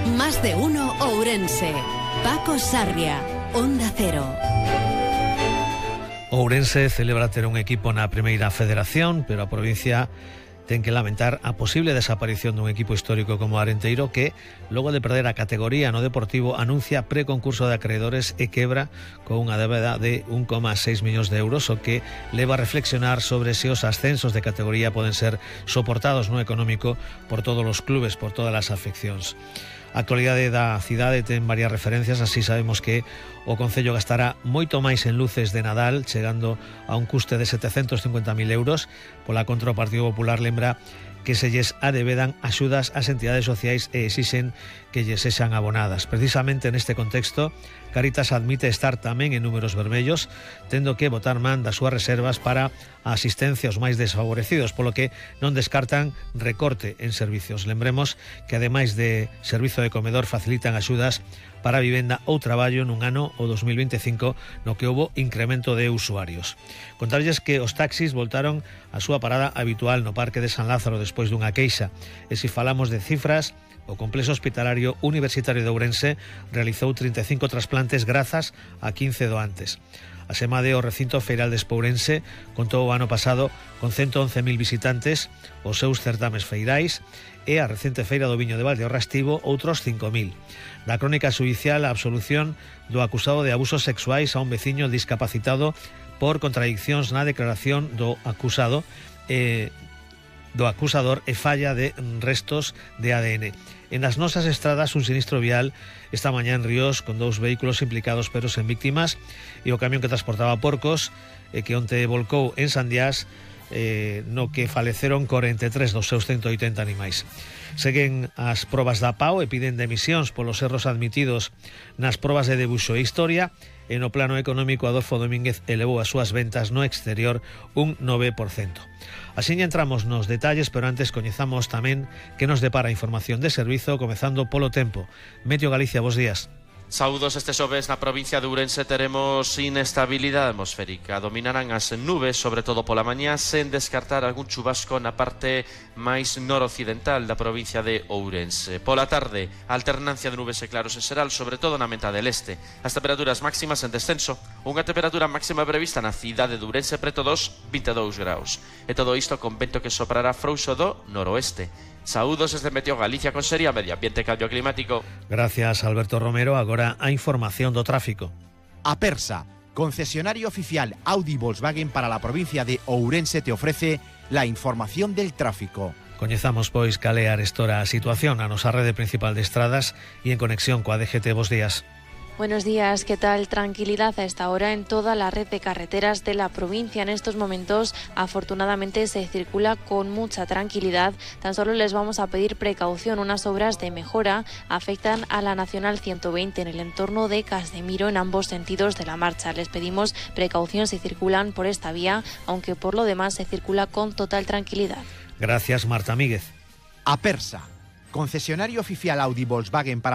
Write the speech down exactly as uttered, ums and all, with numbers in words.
Más de uno Ourense. Paco Sarria, Onda Cero. Ourense celebra ter un equipo na primeira federación, pero a provincia ten que lamentar a posible desaparición dun equipo histórico como Arenteiro que, logo de perder a categoría no Deportivo, anuncia preconcurso de acreedores e quebra con unha débeda de un coma seis millóns de euros, o que leva a reflexionar sobre se os ascensos de categoría poden ser soportados no económico por todos os clubes, por todas as afeccións. A actualidade da cidade ten varias referencias, así sabemos que o Concello gastará moito máis en luces de Nadal, chegando a un custe de setecentos cincuenta mil euros. Pola contra, o Partido Popular lembra que se lles adevedan axudas ás entidades sociais e exixen que lles sexan abonadas. Precisamente neste contexto, Cáritas admite estar tamén en números vermellos, tendo que botar man das súas reservas para a asistencia aos máis desfavorecidos, polo que non descartan recorte en servicios. Lembremos que, ademais de servizo de comedor, facilitan axudas para a vivenda ou traballo nun ano, o dos mil veinticinco, no que houbo incremento de usuarios. Contarlles que os taxis voltaron a súa parada habitual no Parque de San Lázaro despois dunha queixa. E se falamos de cifras, o Complexo Hospitalario Universitario de Ourense realizou trinta e cinco trasplantes grazas a quince doantes. A SEMADE, o recinto feiral de Espourense, contou o ano pasado con ciento once mil visitantes os seus certames feirais, e a recente feira do viño de Valdeorras tivo outros cinco mil. Da crónica xudicial, a absolución do acusado de abusos sexuais a un veciño discapacitado por contradiccións na declaración do acusado e do acusador e falla de restos de A D N. En as nosas estradas, un sinistro vial esta mañá en Ríos con dous vehículos implicados pero sen víctimas, e o camión que transportaba porcos e que onte volcou en Sandiás, eh, no que faleceron corenta e tres dos seus ciento oitenta animais. Seguen as probas da P A O e piden demisións polos erros admitidos nas probas de debuxo e historia. E no plano económico, Adolfo Domínguez elevou as súas ventas no exterior un nove por cento. Así entramos nos detalles, pero antes coñezamos tamén que nos depara a información de servizo, comezando polo tempo. Meteo Galicia, bos días. Saúdos, este xoves na provincia de Ourense teremos inestabilidade atmosférica. Dominarán as nubes, sobre todo pola mañá, sen descartar algún chubasco na parte máis noroccidental da provincia de Ourense. Pola tarde, alternancia de nubes e claros en xeral, sobre todo na metade del este. As temperaturas máximas en descenso, unha temperatura máxima prevista na cidade de Ourense preto dos vinte e dous graus. E todo isto con vento que soprará frouxo do noroeste. Saúdos desde Meteo Galicia con Seria Medio Ambiente e Cambio Climático. Gracias, Alberto Romero. Agora a información do tráfico. Apersa, concesionario oficial Audi Volkswagen para la provincia de Ourense, te ofrece la información del tráfico. Coñezamos, pois, cal é arestora a situación na nosa rede principal de estradas e en conexión coa D G T. Bos días. Buenos días, ¿qué tal? Tranquilidad a esta hora en toda la red de carreteras de la provincia. En estos momentos, afortunadamente, se circula con mucha tranquilidad. Tan solo les vamos a pedir precaución. Unas obras de mejora afectan a la Nacional ciento veinte en el entorno de Casemiro en ambos sentidos de la marcha. Les pedimos precaución si circulan por esta vía, aunque por lo demás se circula con total tranquilidad. Gracias, Marta Míguez. Apersa, concesionario oficial Audi Volkswagen para